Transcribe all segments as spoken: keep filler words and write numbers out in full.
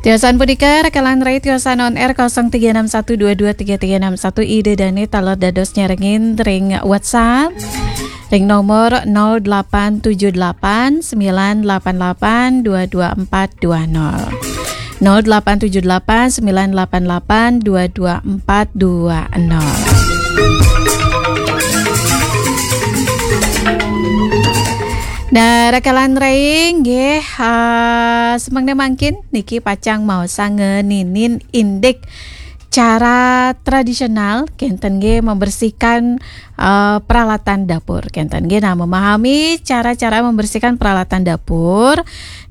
Tiosan punika, Rekalan Rai tiosan on air kosong tiga enam satu dua dua tiga tiga enam satu, Ida Dane taler dados nyarengin ring WhatsApp ring nomor nol delapan tujuh delapan sembilan delapan delapan dua dua empat dua nol. Nol delapan tujuh delapan sembilan delapan delapan dua dua empat dua nol. Nah, Rekalan Rai nggih, ah, semangda mangkin niki pacang maosang ngeninin indik cara tradisional kenten nggih membersihkan, eh, peralatan dapur kenten nggih. Nah, memahami cara-cara membersihkan peralatan dapur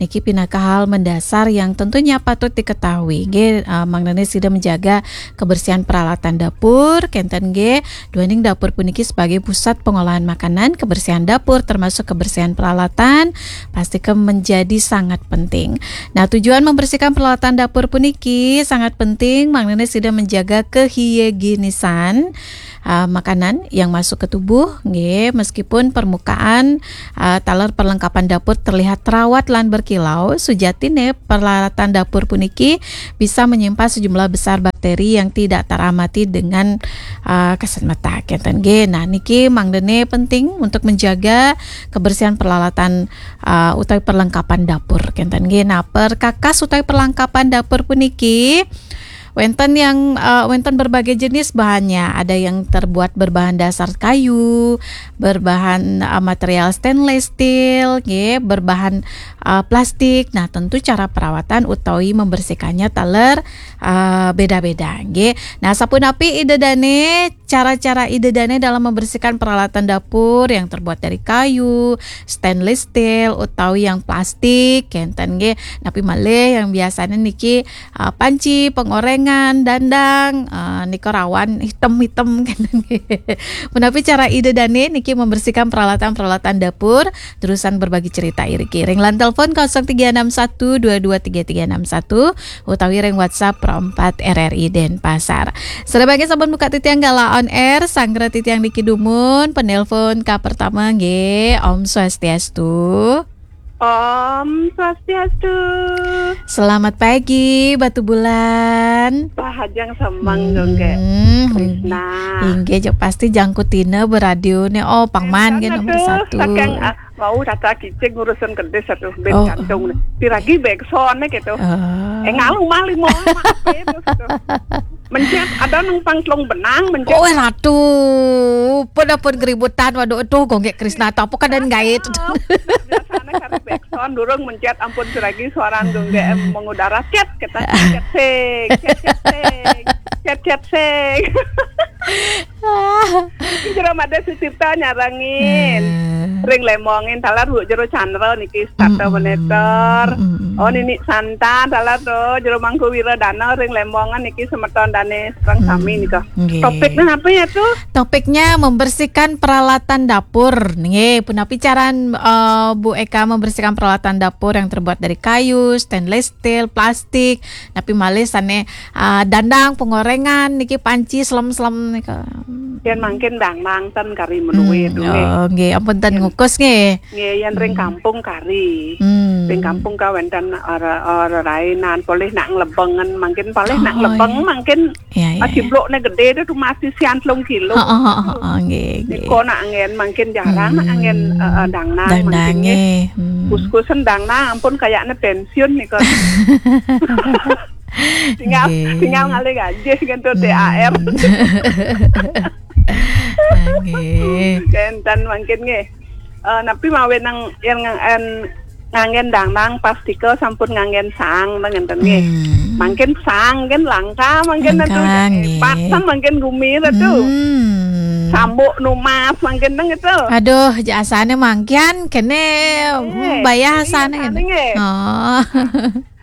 niki pinaka hal mendasar yang tentunya patut diketahui nggih, eh, mangdane sida menjaga kebersihan peralatan dapur kenten nggih. Duaning dapur puniki sebagai pusat pengolahan makanan, kebersihan dapur termasuk kebersihan peralatan pasti ke menjadi sangat penting. Nah, tujuan membersihkan peralatan dapur puniki sangat penting, mangdane sida menjaga kehigienisan, ah, makanan yang masuk ke tubuh, nggih, meskipun permukaan, ah, taler perlengkapan dapur terlihat terawat lan berkilau, sujatine peralatan dapur puniki bisa menyimpan sejumlah besar bakteri yang tidak teramati dengan, ah, kasat mata, kenten nggih. Nah, niki mangdane penting untuk menjaga kebersihan peralatan, ah, utawi perlengkapan dapur, kenten nggih. Nah, perkakas utawi perlengkapan dapur puniki wenten yang, eh, wenten berbagai jenis bahannya. Ada yang terbuat berbahan dasar kayu, berbahan, eh, material stainless steel, nggih, berbahan, eh, plastik. Nah, tentu cara perawatan utawi membersihkannya taler, eh, beda-beda, nggih. Nah, sapunapi Ida Dane, cara-cara Ida Dane dalam membersihkan peralatan dapur yang terbuat dari kayu, stainless steel, utawi yang plastik, kenten nggih. Napi malih yang biasanya niki, ah, panci, pengorengan, dandang, ah, nika rawan hitam-hitam kenten nggih. Menapi cara Ida Dane niki membersihkan peralatan-peralatan dapur, terusan berbagi cerita iriki. Ring line telepon kosong tiga enam satu dua dua tiga tiga enam satu, utawi ring WhatsApp Pro empat R R I Denpasar. Sedaya mangkin sampun buka titiang galah on air, sanggra titiang niki dumun, penelpon ka pertama nggih. Om Swastiastu. Om Swastiastu. Selamat pagi, Batu Bulan. Pahajeng semeng dong, nggih. Hmm, Krisna. Inggih, jok pasti jangkutina beradio nih. Oh, pangman nggih nomor satu. Saking, ah, mau tata kicik ngurusin kedis satu ben jantung nih. Piragi backsound-nya gitu. Oh. Eh, ngalu mali mau maaf ya, gitu. Mencet ada nang pang telung benang, mencet. Oh, eh, ratu. Pun, pun keributan, waduh, aduh, gonggek Krisna, apa kan dan gait. Biasanya kan backsound, durung mencet, ampun, piragi suara gonggek, em, mengudara, cet, kita, cet, sing, cet, cet, sing, cet, cet, sing. Iki jero made Sucipta nyarengin. Eh. Ring Lembongin, taler Bu jero Chandra niki, Sata Meneter. Oh, Nini Santa, taler to, jero Mangku Wiradana, ring Lembongan niki semeton dane, sareng sami nika. Nggih. Topiknya apa ya, tuh? Topiknya membersihkan peralatan dapur. Nggih, punapi caran, eh, Bu Eka membersihkan peralatan dapur yang terbuat dari kayu, stainless steel, plastik, napi malih sane, ah, dandang, pengorengan, niki panci, selem-selem nika. Yen mangkin dandang ten kari menuwe, hmm, duwe. Oh, nggih, ampun ten ngukus nggih. Nggih, yen ring kampung kari. Hmm. Ring kampung ka wenten ora, ora rainan, polih nak nglebengen, mangkin polih nak nglebeng, iya, mangkin, iya, iya, ciblokne gede tu, cuma sisian telung kilo. Heeh, heeh, heeh, nggih, nggih. Nika nak angin mangkin jarang, nak angin, eh, eh, dandang mangkin nggih. Dandang nggih. Hmm. Kus-kusen dandang ampun kayakne pensiun nika. Tinggal, nggih, tinggal ngalih gaji ngentu, hmm, T H R. Nggih. Kenten mangkin nggih. Eh, napi mawe nang yang ngang-, en, nganggen dandang pastika sampun nganggen sang, ngenten nggih. Hmm. Mangkin sang kan langka, mangkin langka, atu nggih. Hebat, sang mangkin gumi atu. Hmm. Sambuk numas mangkin nang itu. Aduh, jasane mangkin kene, eh, hmm, bayah iya, sane kene nggih. Oh.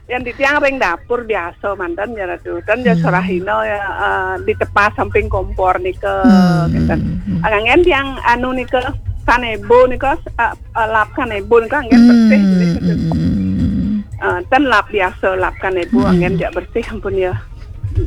Yang di tiang ring dapur biasa manten ya, Ratu. Kan ya, hmm, sorahina ya, eh, di tepas samping kompor nika, hmm, gitu. Hmm, hmm. Angin tiang anu nika, kanebo nika, eh, eh, lap kanebo nika angin bersih, hmm, gitu. Hmm. Eh, ten lap biasa, lap kanebo, hmm, angin jak bersih, ampun ya.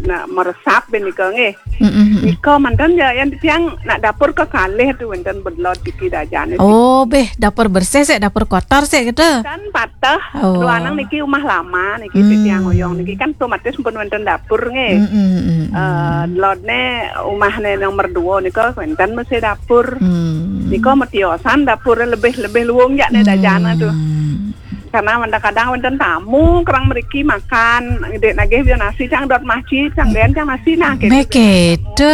nak meresap ben nika nggih. Mm-mm. Nika manten ya, yan tiang nak dapur kekalih tu wenten bedlot iki dajane. Oh, beh, dapur bersih sik, dapur kotor sik gitu. Dan patah, oh, dua anang niki rumah lama niki, hmm, tiang oyong niki kan otomatis pun wenten dapur nggih. Mm-mm. Eh, lodne umahne nomor dua nika wenten mesti dapur. Hmm. Nika metiosan dapur lebih-lebih luung jak ne dajana tu. Hmm. Karena kadang-kadang wenten tamu kerang meriki makan, ngedek nagih dia nasi cang dot masjid, cang den cang nasi nah gitu. Meh gitu.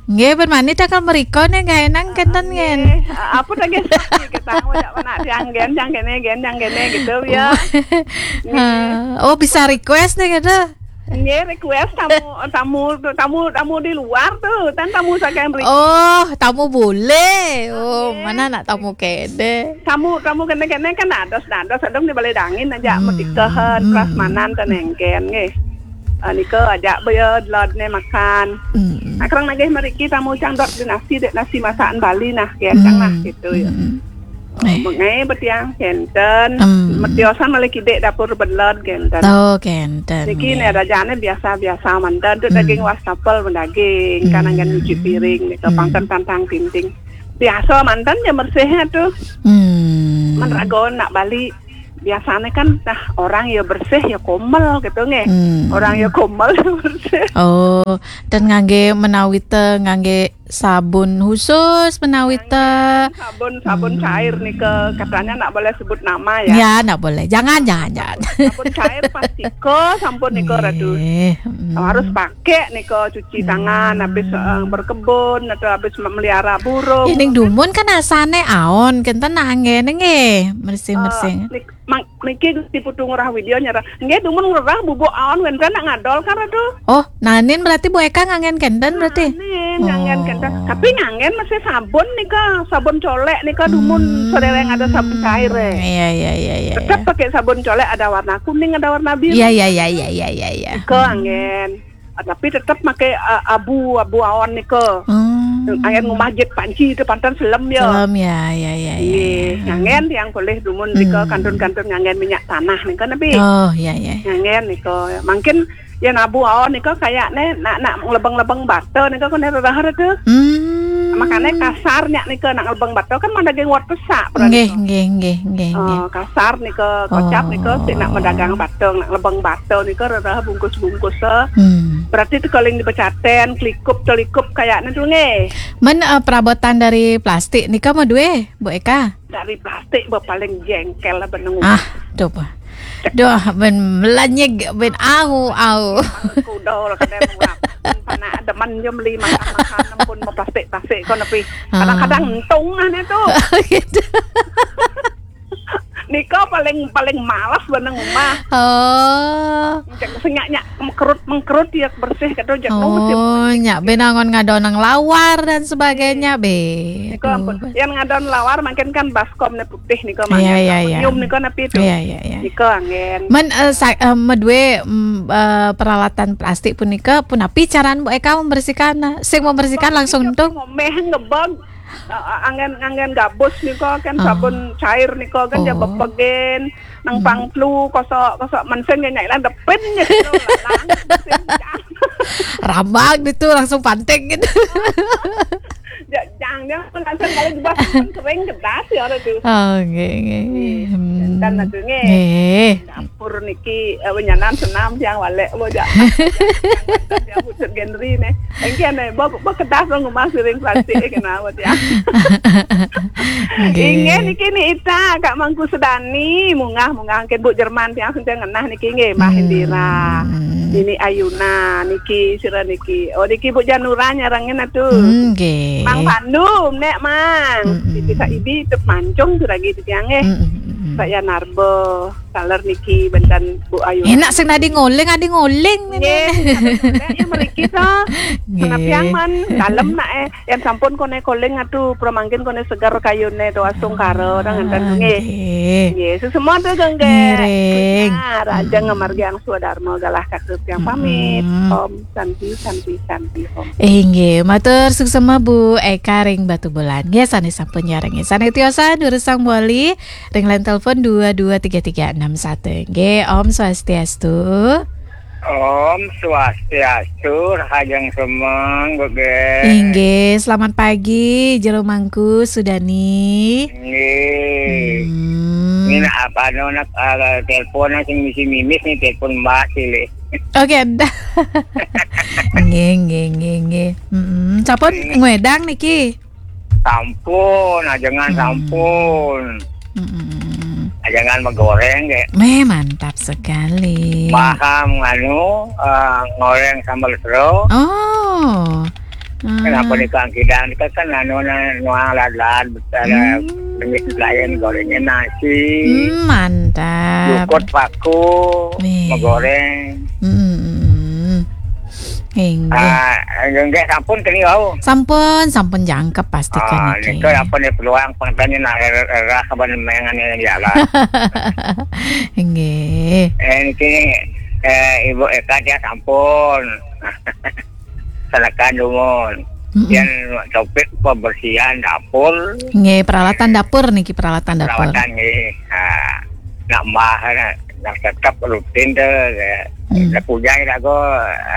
Nggih, ben mani takal meriko ne gaenang kenten ngen. Nggih, apa tak nggih kita ngajak anak cang gen cang kene gen cang kene gitu ya. Nggih. Oh, bisa request ne gitu. Nggih, request tamu tamu tamu tamu di luar tu, kan tamu saking mriki. Oh, tamu bule. Oh, nggih, mana nak tamu kene. Tamu tamu kene-kene kan dados-dados sedeng di Balai Dangin aja, hmm, metikahan, hmm, prasmanan ten engken nggih. Ah, nika aja beya delodne makan. Hmm. Nah, kerang nagih meriki tamu cang dot di nasi dek nasi masakan Bali nah, ya cang nah gitu ya. Hmm. Eh. Mengai betiang kenten, hmm, metiosan malih kidek dapur bedelod kenten. Oh, kenten. Niki nggih, ne rajane biasa-biasa manten tu, hmm, daging wastafel mendaging, hmm, kan anggen nyuci piring nika, hmm, pangken tantang tinting. Biasa manten ya bersihnya tu. Hmm. Men ragon nak Bali biasanya kan nah orang ya bersih ya komel gitu nggih. Hmm. Orang ya komel ya bersih. Oh, dan ngangge menawite ngangge sabun khusus menawite. Sabun sabun, hmm, cair nika katanya nak boleh sebut nama ya. Ya, nak boleh. Jangan, jangan, jangan. Sabun cair pasti ko sampun nika ratu. Nggih, mm. Harus pakai nika cuci tangan, hmm, habis, eh, berkebun atau habis melihara burung. Ya, ning dumun kan asane aon, kenten nak anggene nggih, mersih-mersih. Eh, nik-, mang-, niki Gusti Putu Ngurah Widya nyerah. Nggih, dumun ngerah bubuk aon wenten nak ngadol kan ratu. Oh, nanin berarti Bu Eka nganggen kenten berarti? Nanin, nganggen kenten. Oh. Tapi nganggen masih sabun nika, sabun colek nika dumun, hmm, sadurung ada sabun cair, eh. Iya, iya, iya, iya, tetap iya, pakai sabun colek, ada warna kuning, ada warna biru. Iya, iya, iya, iya, iya, iya, iya. Nika, hmm, anggen. Ah, tapi tetap pakai, ah, abu, abu aon nika. Hmm. Anggen ngumah jet panci itu pantan selem ya. Selem ya, ya, ya, ya, iya, ya. Nganggen yang boleh dumun nika, hmm, kantun-kantun nganggen minyak tanah nika napi. Oh, iya, iya. Nganggen nika. Mungkin ya nabu aon nika kayakne nak, nak lebeng-lebeng bata nika kene rerah tu. Hmm. Makanya kasar nyak nika nak lebeng bata kan mana geng wat pesak berarti. Nggih, nggih, nggih, nggih, nggih. Oh, kasar nika, kocap nika, oh, sik nak medagang bata, nak lebeng bata nika rerah bungkus-bungkus, eh. Hmm. Berarti tu kaling dipecaten, kelikup, telikup kayaknya tu nggih. Men, eh, perabotan dari plastik nika mau duwe, Bu Eka? Dari plastik be paling jengkel lah benung. Ah, duh, bah. Duh, ben melenyeg, ben au, au. Kuda lah kena murah. Panak demen je beli makan-makan pun mau plastik-plastik kau nepi. Ah. Kadang-kadang entung lah ni tu. Gitu. Nika paling, paling malas beneng rumah. Oh. Cek senyak nyak mengkerut, mengkerut ya bersih kata cek. Oh, nyak ben angon ngadonang lawar dan sebagainya, be. Nika ampun. Yang ngadon lawar makin kan baskom ne putih nika. Iya, iya, iya. Nyium nika napi tu. Iya, iya, iya. Nika anggen. Men, eh, sa-, eh, medue, mm, eh, peralatan plastik punika punapi caran Bu Eka membersihkan? Sing membersihkan langsung tu? Ngomeh ngebeg. Ah, ah, anggen, anggen gabus nika kan, oh, sabun cair nika kan ya, oh, bepegen nang, hmm, pangtlu kosok, kosok mensen ya nyai lah depin ya gitu, lalang. Rambang gitu langsung pantek gitu. Jajang dia langsung kalau dibasuh kan kering kedas ya ada tu. Oh, nggih, nggih. Nggih. Hmm. Dan ada nggih. Nggih. Dapur niki, eh, nyanan senam siang walek bo jak. Dia pucuk Genri ne. Engke ne, bo, bo kedas dong rumah siring plastik kena bo dia. Nggih. Inggih niki ni Ita, Kak Mangku Sedani, mungah-mungah ke Bu Jerman tiang sing ngenah niki nggih, Mbah, hmm, Indira. Nini Ayuna niki, sira niki. Oh, niki Bu Janura nyarengin atu. Hmm, nggih. Mang Pandu, nek Mang. Mm-mm. Niki sak ibi tep mancung tu lagi di tiang nggih. Mm-mm, mm-mm. Pak Yanarbo. Taler niki benten Bu Ayu. Enak sing adi ngoling, adi ngoling. Nggih. Ya mriki to. Nggih. Menapiang man dalem nak, eh, yang sampun kone koling atu pramangkin kone seger kayune to asung karo, ah, nang enten nggih. Nggih. Nggih, sesemua to gengge. Ngiring. Nah, raja, mm-mm, ngamargi ang swadarma galah katur tiang pamit. Mm-mm. Om Santi, Santi, Santi, Om. Inggih, matur suksema Bu Eka ring Batubulan. Nggih, sane sampun nyarengin. Sane tiosan durusang wali ring line telepon dua dua tiga tiga enam satu. Nggih, Om Swastiastu. Om Swastiastu, rahajeng semeng, Gege. Inggih, selamat pagi, Jero Mangku Sudani. Inggih. Hmm. Ini nak apa, no, nak, ah, telepon, nak sing misi mimis nih, telepon Mbak Silih. Oke, dah. Nggih, nggih, nggih, nggih. Mm-mm. Sampun ngwedang niki? Sampun, ajengan Hmm. sampun. Mm-mm. Ajengan megoreng, ge. Meh, mantap sekali. Paham, anu, eh, ngoreng sambal sero. Oh. Kenapa Ah. di Kang Kidang? Kita kan anu, na-, nuang lad-lad, ada Hmm. jenis lain, gorengnya nasi. Hmm, mantap. Jukut paku, Nih. megoreng. Mm-mm. Inggih. Ah, nggih, sampun keni wau. Sampun, sampun jangkep pastikan Ah, niki. Nika sampun ya peluang pengtanya nak era, era kapan mengan ya lah. Inggih. Eh, niki, eh, Ibu Eka dia sampun. Silakan dumun. Mm-mm. Yang topik pembersihan dapur. Nggih, peralatan dapur niki, peralatan dapur. Peralatan nggih. Ah, nambah, nak tetap rutin tu, ya. Hmm. Nak pujai lagu,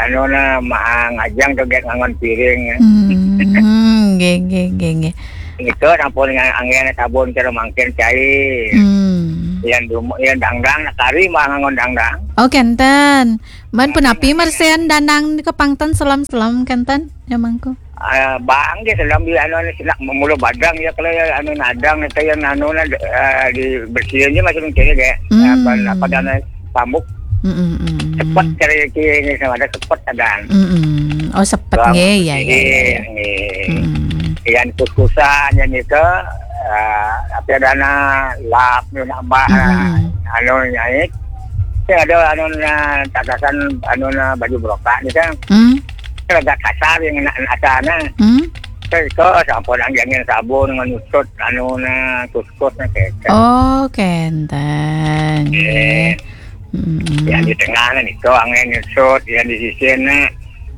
anu na, ma-, ngajeng tu, get ngangon piring. Hmm, nggih, nggih, nggih, nggih. Itu sampun ngan-, anggen sabun cara mangkin cair. Hmm. Yang dumu-, yang dangdang, nak kari mah ngangon dangdang. Oh, kenten. Man punapi mersihan dandang ke pangten selam-selam kenten, ya Mangku? Ah, bang dia selam di anu, anu, silak mulu badang ya, kalau ya anu nadang itu yang anu na, eh, dibersihin aja masih mencari deh. Hmm. Apa, apa dana pambuk. Mm-mm, mm-mm. Sepet cari ini sama ada sepet ada. Mm-mm. Oh, sepet. Bang, nggih, ya, ya, ya, ya. Nggih. Mm. Yang kus-kusan yang itu, eh, apa dana lap nambah, Mm-mm. anu nyait. Sing ada anu na tatasan anu na baju brokak ni kan. Hmm. Agak kasar yang nak, nak sana. Hmm. Terus kau sampun anggangin sabun dengan usut anu na kuskus na kecek. Oh, kenten. Eh. Hmm. Yang di tengah na niko angin usut, yang di sisi na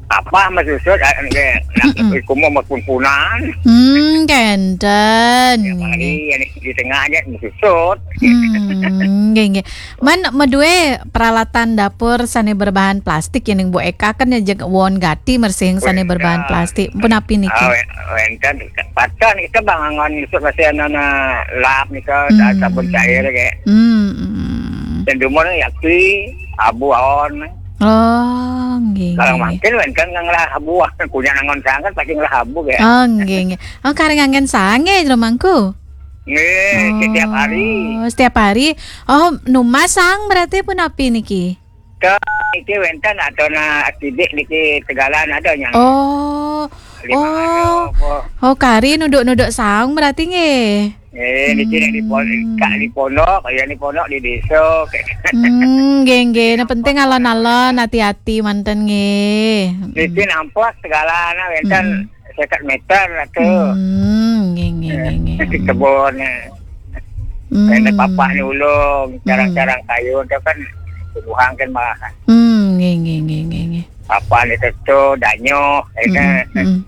apa mas usut, ah, nggih, nak Mm-mm. iku mau makunpunan. Hmm, kenten. Ya, mari, nggih. Yang di tengah aja mas usut. Hmm, nggih, nggih. Man, medue peralatan dapur sane berbahan plastik, yening Bu Eka kan ya jeg won gati mersing sane berbahan plastik. Punapi niki? Ah, we-, wenten. Pacah niki, Bang, angon isuk masih ana lap nika, hmm, sabun cair, kayak. Hmm, hmm. Dan dumun yaksi, abu aon. Oh, nggih, kalau nggih, mangkin wenten ngelah abu, kunyah nangon sangat pasti ngelah abu, kayak. Oh, nggih, nggih. Oh, kareng anggen sange, Jero Mangku? Nggih, oh, setiap hari. Setiap hari. Oh, numas sang berarti punapi niki? Ke, niki wenten atau na sidik niki tegalan ada nyang. Oh. Lima oh. Ada apa? Oh, kari nuduk-nuduk saung berarti nggih. Eh, niki nek di pon-, hmm, kak di pondok, ya di pondok di desa. Hmm, nggih, nggih. Nah, penting alon-alon, hati-hati manten nggih. Niki nampak tegalan wenten. Hmm. Seket meter lah tu. Hmm, nggih, nggih, nggih, nggih. Di kebun, eh. Hmm. Kena papak ni ulung, hmm, carang-carang kayu tu kan bubuhan kan malah. Hmm, nggih, nggih, nggih, nggih, nggih. Papak ni tu, tu, danyo, eh, hmm, kan. Hmm.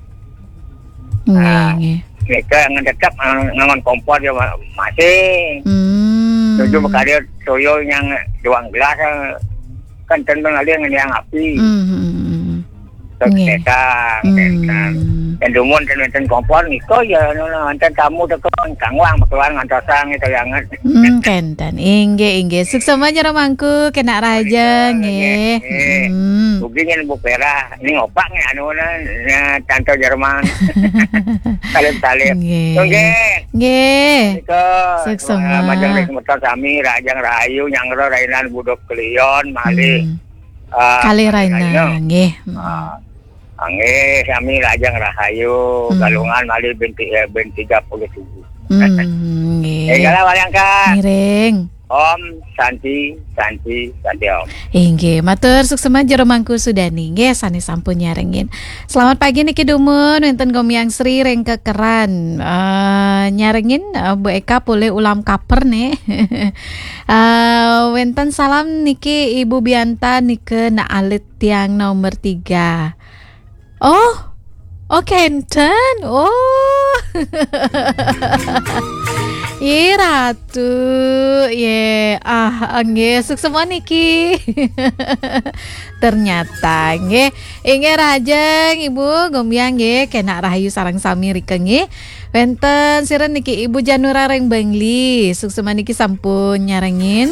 Nggih, ah, nggih. Mereka yang tetap ngang-, ngangon kompor dia ma-, masih. Hmm. Tujuh berkali toyo yang duang gelas, eh, kan tentang ada yang api. Hmm, hmm, hmm, hmm. Nggih. Setan, hmm, setan. Dan dumun ten wenten kompor niko ya, anu, wenten tamu teko kangwang keluar ngantosang itu yang. Hmm, kenten. Inggih, inggih. Suksma Jero Mangku, kena raja, oh, iya, nggih. Nggih. Hmm. Ugi nyen Bu Perah, ini ngopak nih anu na, na, tanto Jerman. Salib-salib. Nggih. Nggih. Nggih. Nika, suksma. Eh, majeng ring semeton sami, Rajang Rahayu, Nyangro Rainan Budok Kelion, malih. Hmm. Ah, kalih Raina, Raina, nggih. Ah, nggih, sami lajeng rahayu, hmm, Galungan malih bin ti-, eh, bin tiga puluh tujuh. Hmm, nggih. Eh, galah waliang, Kak. Ngiring. Om Santi, Santi, Santi Om. Inggih, matur suksma Jero Mangku Sudani. Nggih, sane sampun nyarengin. Selamat pagi niki dumun, wenten Gomiang Sri ring Kekeran. Eh, nyarengin, eh, Bu Eka polih ulam kaper nih. Eh, wenten salam niki Ibu Bianta nika nak alit tiang nomor tiga. Oh, oh kenten. Oh. Ye Ratu, ye ah nggih suksma niki. Ternyata nggih, inggih rahajeng Ibu Gombiang nggih, kenak rahayu sareng sami rika nggih. Wenten sira niki Ibu Janura ring Bangli, suksma niki sampun nyarengin.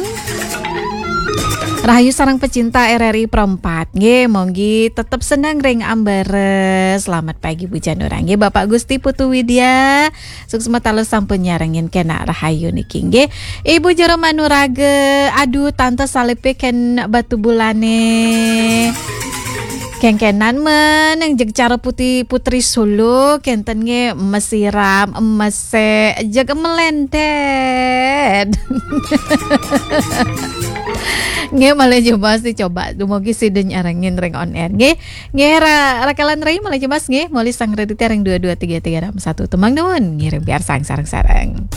Rahayu sareng pecinta R R I Pro empat nggih, monggi tetep seneng ring ambara. Selamat pagi Bu Janura nggih, Bapak Gusti Putu Widya. Suksma taler sampun nyarengin kenak rahayu niki nggih. Ibu Jero Manuraga, aduh tante salipe ken batu bulane. Kengkenan meneng jeg cara putih putri Solo kenten nggih mesiram emese jeg melendet. Nggih malih jebos dicoba dumugi sida nyarengin ring on air nggih. Nggih ra, rakelan rai malih jebos nggih, malih sang redite ring dua dua tiga tiga enam satu. Tumang nuwun ngiring piarsang sareng-sareng.